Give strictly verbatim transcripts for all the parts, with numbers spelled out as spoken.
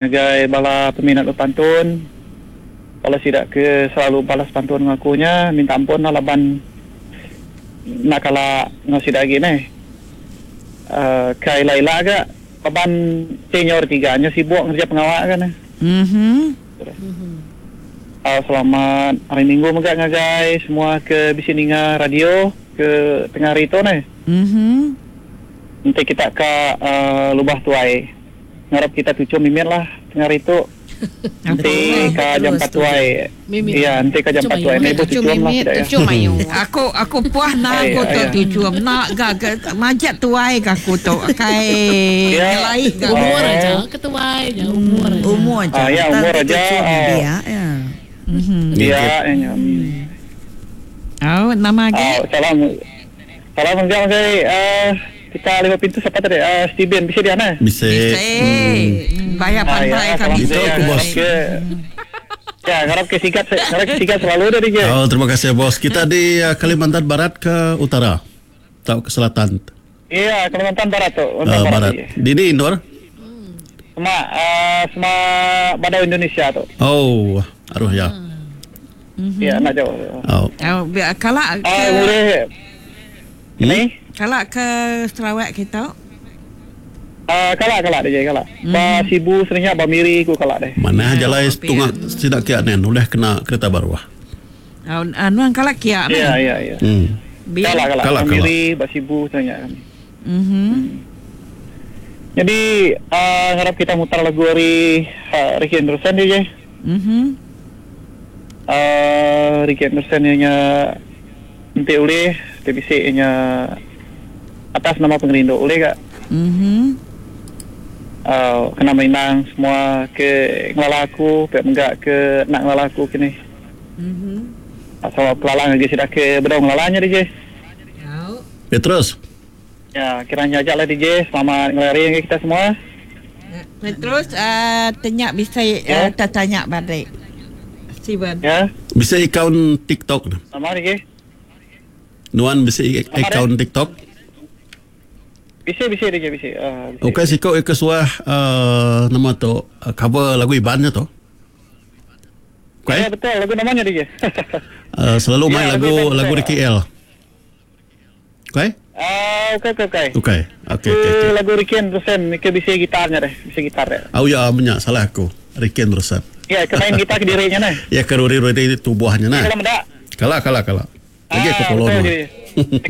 Ngagai bala peminat bepantun, bala sida ke selalu balas pantun enggau aku nya, minta ampun lah laban enda kala enggau sida agi neh. Uh, ke ila-ila ga laban senior tiga nya sibuk ngereja pengawa ga neh. Mhm. Uh, selamat hari Minggu mega ngagai semua ke bisi ninga radio ke tengah hari tu neh. Mhm. Enti kita ka uh, lubah tuai, ngarap kita tuchum mimit lah tengah hari tu. Enti ka jam empat tuai. Mimit. Iya, enti ka jam Tuchum empat tuai. ayu. Ibu Tuchum tuchum lah mimit, sida ya. tuchum ayu. Aku aku puas nak Ai, aku tu ai. tuchum nak ga ke majak tuai ke aku tu kai Ya. ngelai ga. Umur Oh. aja ketuai aja umur aja. Umur aja. Ah, ya, umur Tang aja, tuchum ah. dia, ya. Mhm. Iya, ya. Oh, nama Ah, agi? salam. Salam mega ngagai uh, kita lima pintu siapa tadi? Uh, Steven bisa dia nah. Bisa. Bisa. Bayar Ah, pandai ya, kami. salam Itu aku, bos. Ke, ya, ngarap ke sigat, ngarap ke sigat selalu dari je. Oh, terima kasih bos. Kita di uh, Kalimantan Barat ke utara atau ke selatan? Iya, Kalimantan Barat tu, Uh, Kalimantan Barat. barat. Barat. Di ni Nur? Sama uh, sama Badau Indonesia tu. Oh, aruh ya. Iya, nak jauh. Oh. Oh, biar kalak Ah, ke boleh. Hmm? Ni? kalak ke Sarawak kita. Ah, kalak kalak dia kalak. Ba Sibu sebenarnya ba Miri ku kalak deh. Mana Ya, jalai kopi, tunga sidak kiak nen udah kena kereta baru ah. Oh, anu kalak kiak Iya, nah. iya, iya. Hmm. Biar Kalak kalak. Kalak, Ba kalak. Miri, ba Sibu sebenarnya kami. Mhm. Jadi, uh, harap kita mutar lagu dari uh, Ricky Anderson dia je. Mhm. Uh, Ricky Anderson nya nanti oleh T B C nya atas nama pengerindu oleh kak Mhm. uh, kena merindang semua ke ngelala aku pek menggak ke nak ngelala aku kini Mhm. asal pelalang lagi sudah ke bedau ngelalanya D J Oh. Petrus. ya kiranya aja lah D J selamat ngelari kita semua Terus uh, tanya bisa uh, Ya. tertanya balik. Steven. ya Bisa account TikTok. sama D J Nuan bisa i- Apa account TikTok. bisa bisa D J bisa uh, bisa. Okey, siko ke suah uh, nama tu uh, cover lagu Ibannya tu. Ya Okey. betul lagu namanya D J Uh, selalu main Ya, lagu lagu Iban, lagu betul. di K L. Okey? Ah, okey okey okey Okey. Okey okey. Ke okey. lagu Ricky Anderson ke bisa gitarnya deh bisa gitar deh Oh ya, menyak salah aku. Ricky Anderson. ya ke main gitar ke dirinya nah Ya ke ruri-ruri tubuhnya nah. kalau mendak Kalah kalah kalah. Lagi aku Ah, follow betul nuan. jadi.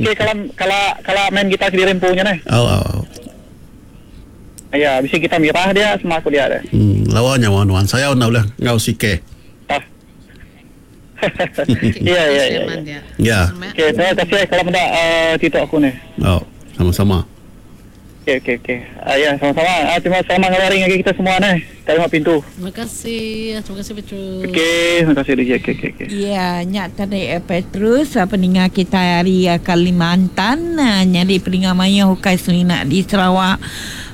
Okey kalau kalau kalau main gitar ke diri empunya nah Oh, oh, oh. Ya, bisa kita mirah dia sama aku dia deh. Hmm, lawa nyawa nuan. Saya nak ulah ngau sike. Ah. Iya, iya, iya. iya. Ya. Okey, terima kasih kalau mendak uh, TikTok aku ni. Oh, sama-sama. Okey, okey, okey. Ah, ya, sama-sama. Ah, terima selamat ngeluarin lagi kita semua ni. Terima pintu. Terima kasih. Terima kasih Petrus. Okey, terima kasih D J. Okey, okey, okey. Ya, nyak tadi eh, Petrus eh, peninga kita hari eh, Kalimantan eh, nyadi peninga maya hukai sunina di Sarawak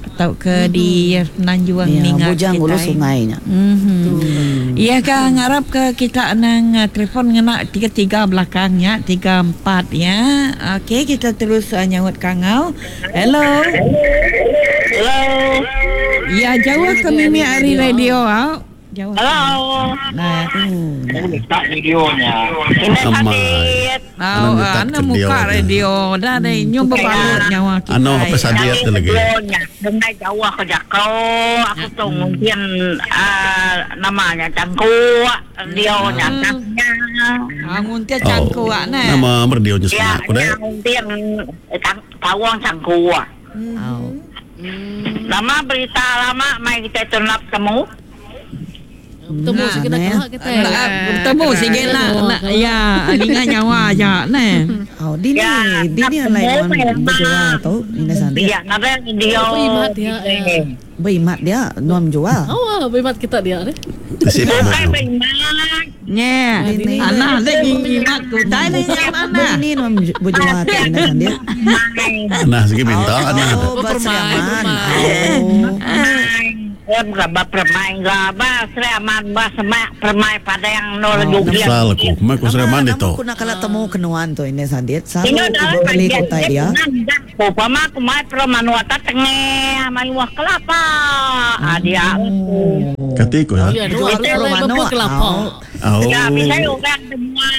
atau ke mm-hmm. di Semenanjung Ya, ninga bujang kita. ulu sungainya. Mhm. Ya ke ngarap ke kita nang eh, telefon ngena tiga tiga belakangnya tiga empat ya. Okey kita terus uh, nyaut kangau. Hello. Hello. Ya jauh ke mimi hari radio au. Jauh. Hello. Nah, Tak videonya. Amai. Oh, Anu nyetak anu ke muka dia. radio dah deh nyum berbalut nyawa kita. Anu apa sadiat tu lagi. Dengar jauh aku jakau, aku tu mungkin ah, namanya cangkuk, dia nyaknya. Ah, nguntia cangkuk oh. nah. Nama merdionya Ya, sebenarnya aku deh. mungkin tawang cangkuk. Oh. Lama berita lama mai kita tunap temu. Bertemu Nah, sikit nak nah. kelak kita. Nak bertemu sikit nak nak ya ninga nyawa aja nah. Oh, di ni, Ya, di ni nak lain temu nuan memang. berjual tu, ini sandi. Ya, nada dia. Oh, berimat dia, ya. Berimat dia nuan jual. Oh, ah, berimat kita dia ni. Sip. Bukan berimat. Nye. Ini. Anak lagi ngimat ku tai ni yang mana? Ini nuan berjual tu, ini sandi. Nah, segi minta nah. Oh, Bermain, berseraman. bermain. Oh. Ba permai ga ba Seraman ba semak permai Padang no juga. Salah aku. Mai ku Seraman itu. Aku nak kala temu kenuan tu ini Sandit. Selalu aku beli kutai dia. Pama aku mai permanua ta tengah mai wah kelapa. Ah dia. Kati ku ya. Jual kelapa. Oh. Ya, bisa orang semua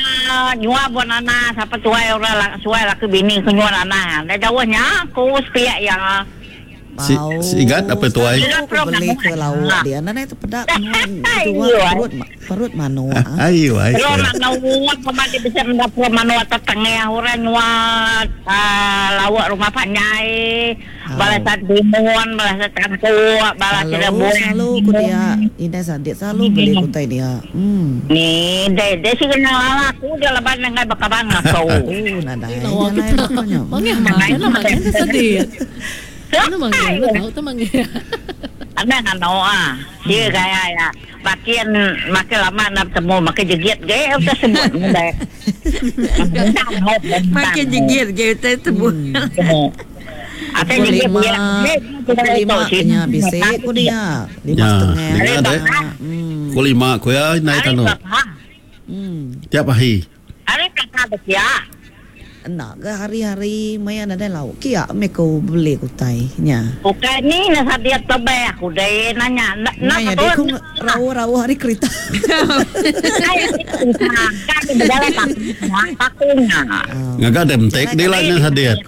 nyua buat anak siapa tuai orang suai laki bini ke nyua anak. Dah jauhnya aku sepiak yang Si, si Igat apa tuai? Aku beli ke laut dia. Nana itu pedak dua perut perut manua. Ayo ayo. Perut manua pemati bisa mendapat manua tetengah orang nyua laut rumah panjai. Balas timun, balas tangkuk, balas cirebon. Selalu ku dia, ini Sandit selalu beli kutai dia. Hmm. Ni, dia dia sih kenal aku dia leban dengan bekaban aku. Oh, nadai. Mangih mana mangih Sandit. Ano manggil? Ano tahu tu manggil? Ada kan tahu ah. Dia gaya ya. Makin makin lama nak temu makin jegit ge kita sebut muda. Makin jegit ge kita sebut. Ada jegit lima. Lima nya bisa ku dia. Lima setengah. Ku lima ku ya naik tanu. Tiap hari. Hari kakak dia. Nak ke hari-hari maya ada lauk kia meko beli kutai nya. Bukan ni nak dia tebeh aku deh nanya nak nak dia ku rawu-rawu hari kereta. Kan berjalan takunya. Ngaga dem tek dia lah nya sadia.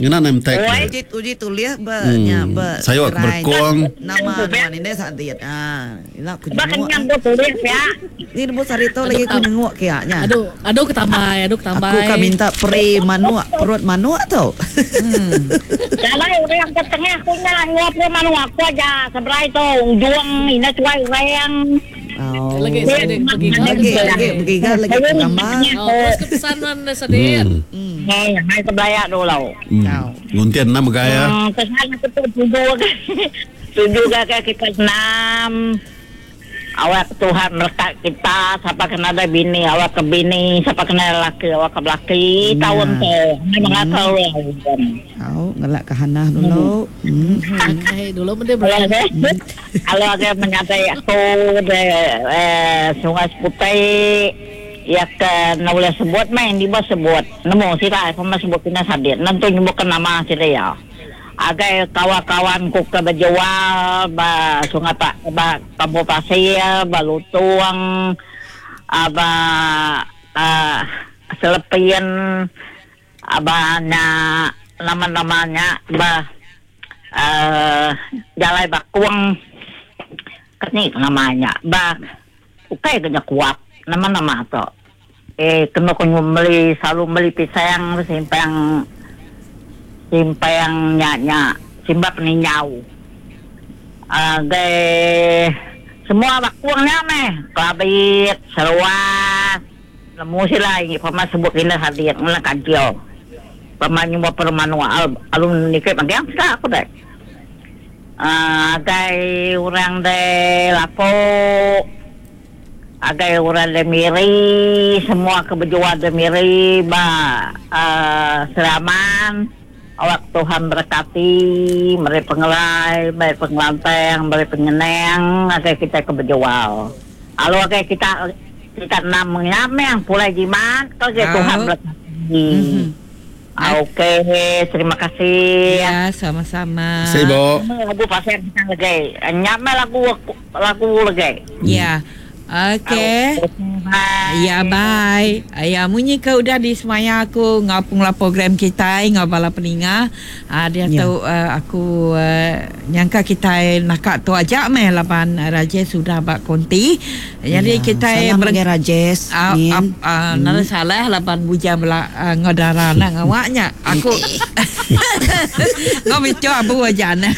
Ngena nem tek. Uji uji tulis be nya be. Saya berkuang nama nuan ini sadia. Ah, ila ku jenguk. Bahkan yang tulis ya. Ni bu Sarito lagi ku nengok kia nya. Aduh, aduh ketambai, aduh ketambai. Aku kan minta pre manua, perut manua tau. Hmm. Kalau orang yang ke tengah aku nya nguap pre manua aku aja seberai tu juang ini cuai orang. Oh. Lagi lagi lagi lagi lagi gambar. Oh, terus kepesanan Sandit. Eh, hai sebelaya dulu. Nguntian nama gaya. Kesan aku tu tujuh tujuh gaya kita enam. Awak Tuhan berkat kita, siapa kena ada bini, awak ke bini, siapa kena laki, awak ke laki, tahun tu. Memang tahu. Tahu, ngelak ke Hana dulu. Okey, dulu benda berada. Kalau ada menyatai aku de Sungai Seputih, ya ke nak boleh sebut main di bawah sebut. Nemu sira, pemain sebut kena sadir. Nanti nyebutkan nama sira ya. Agai kawan-kawan ku ke berjual ba Sungai Pak ba Kampung Pasir, ba Lutuang, aba uh, Selepian, aba na nama-namanya ba uh, Jalai Bakuang kini namanya ba ukai kena kuat nama-nama tu. Eh kena kena beli selalu beli pisang simpang simpang nya simba peninjau. Agai semua bakuangnya meh, kelabit, seluas, lemu sila ini pemain sebut ini hadir ngelah kacau. Pemain nyumba permanua alun nikah bagian sudah aku deh. Agai orang de lapok, agai orang de miri, semua kebejuan de miri ba uh, Seraman. Awak Tuhan berkati, meri pengelai, meri pengelanteng, meri penyeneng, agai kita kebejual. Lalu agai kita kita enam yang pulai jimat, kalau oh. Tuhan berkati. Mm-hmm. Okey, terima kasih. Ya, sama-sama. Sibuk. Lagu pasal kita lagi. Nyame lagu lagu lagi. Ya. Okey. Ya, bye. Ya, munyi ke udah di semaya aku ngapung lah program kita ngabala peninga. Ah dia ya. Tahu uh, aku uh, nyangka kita nak tu aja meh lapan Rajesh sudah bak konti. Jadi ya, kita salam bagi Rajesh. Ah uh, uh, uh, hmm. Nada salah lapan bujang bela uh, ngodara nak ngawaknya. Aku ngobico abu aja nah.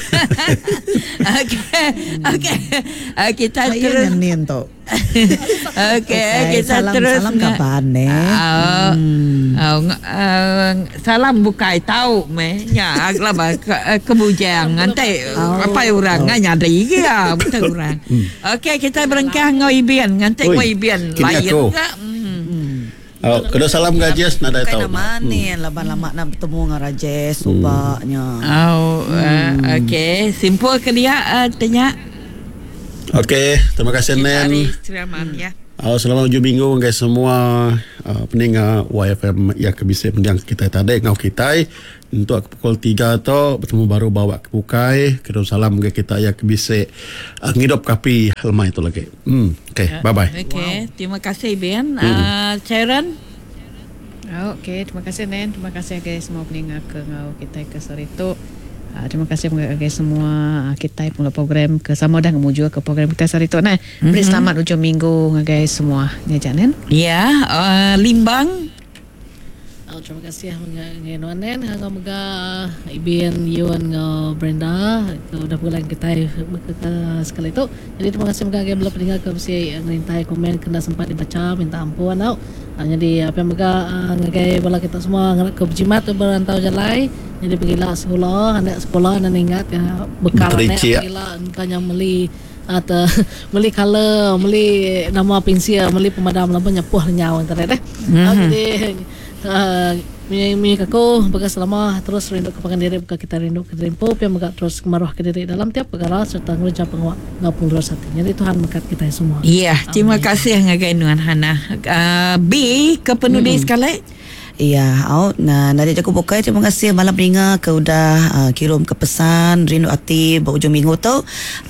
Okey. Okey. Kita terus tu. Okey, okay, kita salam, terus salam kapan ne? Uh, hmm. uh, uh, salam bukai tahu meh nya agla ba ke, kebujang nanti oh, apa orang oh. Nyadi ya betul orang. Okey, kita berengkah ngau ibian nganti ngau ibian lain ke. Hmm. Oh, kena salam Rajesh nadai tahu. Nama ni laban lama nak bertemu dengan Rajesh subaknya. Oh, hmm. uh, okey, simpul ke dia uh, tanya. Okey, terima kasih Kita Nen. ari Sri Aman ya. Uh, selamat ujung minggu guys semua uh, peninga Y F M yang kebisik mendiang kita tadi ngau kita untuk pukul tiga tu bertemu baru bawa ke bukai kirim salam ke kita yang kebisik uh, ngidup kapi lemai itu lagi. Hmm, okey, bye bye. Okey, terima kasih Ben. Hmm. Uh, Sharon. Oh, okey, terima kasih Nen, terima kasih guys semua peninga ke ngau kita ke sore tu. Uh, terima kasih kepada semua uh, kita pula program ke sama dah ngemuju ke program kita sehari tu nah. Beri mm-hmm. selamat hujung minggu ngagai semua. Ni Janen. Ya, uh, Limbang. Oh, terima kasih ngagai Nuan Nen, ngau mega Ibin Yun ngau Brenda ke udah pulang kita ke, ke sekali tu. Jadi terima kasih mega ngagai bela peninggal ke mesti ngerintai komen kena sempat dibaca minta ampun tau. Uh, jadi apa yang mega ngagai bala kita semua ngarap ke berjimat berantau jalai. Jadi pergilah sekolah, anak sekolah dan ingat ya, bekal anak pergilah entahnya beli atau beli color, beli nama pensil, beli pemadam lampu nyepuh nyawa internet eh. Mm-hmm. Uh, jadi uh, mi mi aku bekas selama terus rindu ke pangan diri buka kita rindu ke diri empu pian mega terus kemaruh ke diri dalam tiap perkara serta ngereja pengawak ngapung terus hati. Jadi Tuhan berkat kita semua. Ya, yeah, terima kasih ngagai Nuan Hana. Uh, B ke penulis mm. sekali. Ya, au nah dari aku bukai terima kasih malam peninga ke udah uh, kirim ke pesan rindu hati berujung minggu tu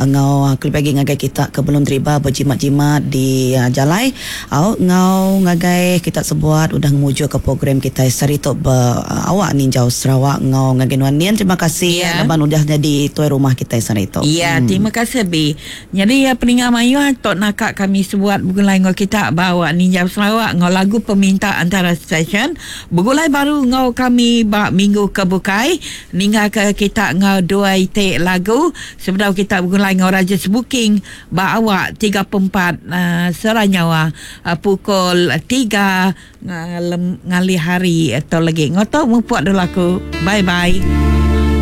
ngau uh, kelebih lagi ngagai kita ke belum terima berjimat-jimat di uh, jalai au ngau ngagai kita sebuat udah ngemuju ke program kita sehari tu ber, uh, awak ninjau Sarawak ngau ngagai Nuan Nian terima kasih ya. Laban udah jadi tuai rumah kita sehari tu. Ya, hmm. terima kasih B. Jadi ya peninga mayu tok nakak kami sebuat bukan lain ngau kita bawa ninjau Sarawak ngau lagu peminta antara stesen Begulai baru ngau kami bak minggu ke bukai ninggal ke kita ngau dua itik lagu sebelum kita begulai ngau Raja Sebuking bak awak tiga puluh empat uh, seranyawa uh, pukul tiga uh, lem, ngalih hari atau lagi ngotok mempuat dulu aku. Bye bye.